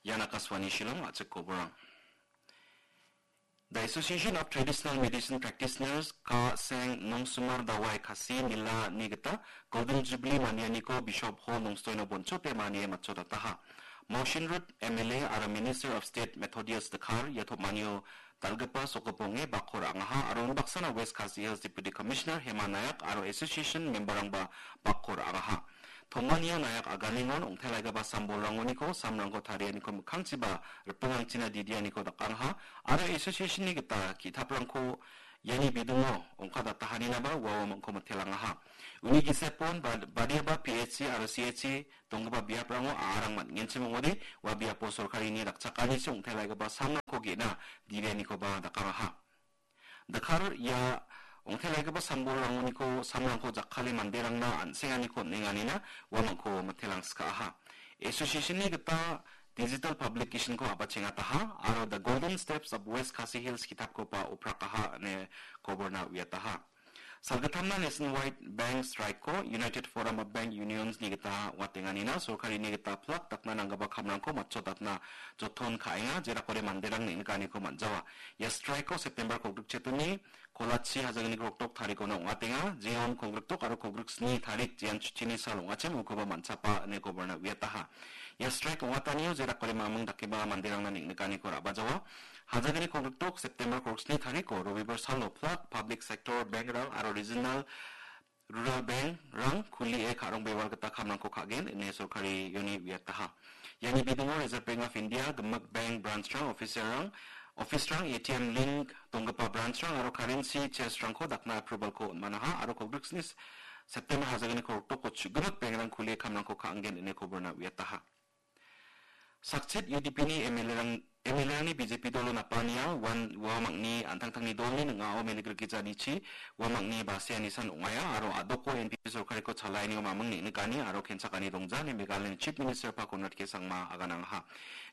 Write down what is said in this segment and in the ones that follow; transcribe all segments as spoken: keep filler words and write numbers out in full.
Ian Akashvani Shillong, a·chik koborang. The Association of Traditional Medicine Practitioners, Ka Seng Nongsumar Dawai Khasi Nila ni gita Golden Jubilee manianiko Bishop Hall Nongstoino bonchote manie matchotataha. Motion Road M L A aro Minister of State Methodius Dkhar ia tom·anio dal·gipa sokgiponge bakko ra·angaha aro unbaksana West Khasi Hills Deputy Commissioner Hema Nayak aro association memberrangba bakko ra·angaha. Tom·anio Nayak aganengon ong·telaigipa sambolrangoniko samrangko tarianiko mikkangchiba ripingrangchina didianiko dakangaha aro association-ni gita ki·taprangko iani bidingo ongkadatahaninaba ua uamangko mitelangaha. Uni gisepon bad-, badiaba P H C aro C H C donggipa biaprango a·arang man·genchim ong·ode, ua biapo sorkarini dakchakanisi ong·telaigipa samrangko ge·na didianikoba dakangaha. Dkhar ia ong·telaigipa sambolrangoniko samrangko jakkale manderangna an·senganiko on·enganina uamangko mitelangskaaha. Association-ni gita digital publication-ko a·bachengataha aro The Golden Steps of West Khasi Hills ki·tapkoba oprakaha ine koborna uiataha. Salgittamna Nationwide Bank Strike-ko United Forum of Bank Unions-ni gita ong·atenganina sorkarini gita plak dakna nanggipa kamrangko matchotatna joton ka·enga, jerakode manderang neng·nikaniko man·jawa. Ia strike-ko September kolgrik chetoni, kolachi hajalgni kolgrikdok tarikona ong·atenga, jeon kolgrikdok aro kolgriksni tarik jean chutini sal ong·achim ukoba man·chapa ine koborna uiataha. Ia strike ong·atanio jerakode maming dakeba manderangna neng·nikaniko ra·bajawa. Hajalgni kolgrikdok September kolgriksni tariko Robibar salo plak public sector bank-rang aro regional rural bank-rang kulie ka·rong bewal gita kamrangko ka·gen ine sorkari ioni uiataha. Iani bidingo Reserve Bank of India, gimik bank branch-rang, officer-rang, office-rang, A T M link donggipa branch-rang aro currency chest-rangko dakna approval-ko on·manaha aro kolgriksni September hajalgni kolgrikdoko chu·gimik bank-rang kulie kamrangko ka·angen ine koborna uiataha. Sakchit U D P-ni M L A-rang, M L A-rangni B J P dolo napania uan uamangni an·tangtangni dolni ning·ao menigrikgijanichi uamangni baseanisan ong·aia aro a·doko N P P sorkariko chalaanio maming neng·nikani aro kenchakani dongja ine Meghalayani Chief Minister-ba Conrad K Sangma aganangaha.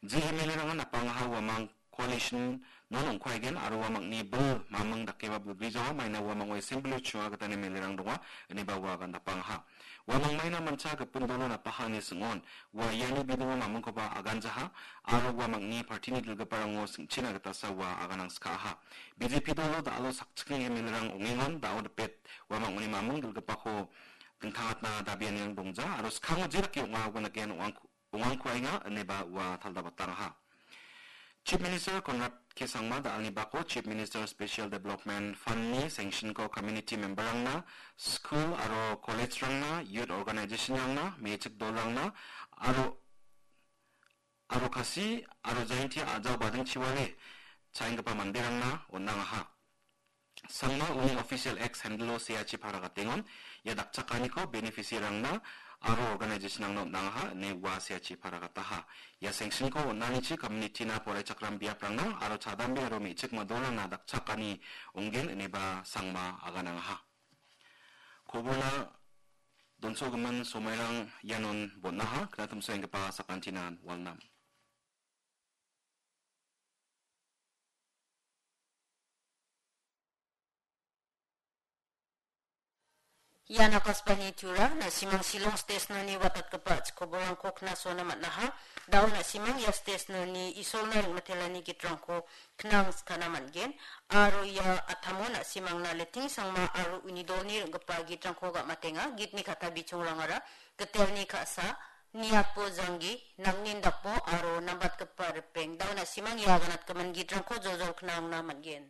Je M L A-rangan napangaha uamang coalition non ong·kuaigen aro uamangni bil maming dakeba bilbrijawa maina uamango assembly-o chua gitani M L A-rang donga ineba ua agan napangaha. Uamang maina mancha gipin dolo napaha ine sing·on. Ua iani bidingo mamingkoba aganjaha aro uamangni party-ni dilgiparango sing·china gitasa ua aganangskaaha. B J P dolo da·alo sakchikni M L A-rang ong·engon da·o dipet uamangni maming dilgipako dingtangatna dabianirang dongja aro skango jedake ong·a uan dake ong·angko-, ong·angkuaenga ineba ua taldabatangaha. Chief Minister Conrad K Sangma da·alni bako Chief Minister Special Development Fund-ni sanction-ko community member-rangna, school aro college-rangna, youth organization-rangna, me·chik dolrangna, aro, aro Khasi aro Jaintia a·jao badingchiwale cha·enggipa manderangna on·angaha. Sangma uni official X handle-o seachi paragatengon, ia dakchakaniko beneficiary-rangna aro organization-rangna on·angaha ine ua seachi paragataha. Ia sanction-ko on·anichi community-na poraichakram biaprangna aro chadambe aro me·chik madolrangna dakchakani ong·gen ineba Sangma aganangaha. Koborna donsogimin somairang ianon bon·aha, knatimsoenggipa sakantinan walnam. Ian Akashvani Tura, na·simang Shillong station-oni watatgipa chikobolrangko knasona man·aha. Da·o na·simang ia station-oni Isolna ring·matelani gitrangko knangskana man·gen. Aro ia atamo na·simangna Letting Sangma aro uni dolni ring·gipa gitrangko gam·atenga. Gitni kata bichongrangara Gitelni ka·sa, Niatbo Janggi, Nangnin Dakbo aro nambatgipa ripeng. Da·o na·simang ia aganatgimin gitrangko joljol knangna man·gen.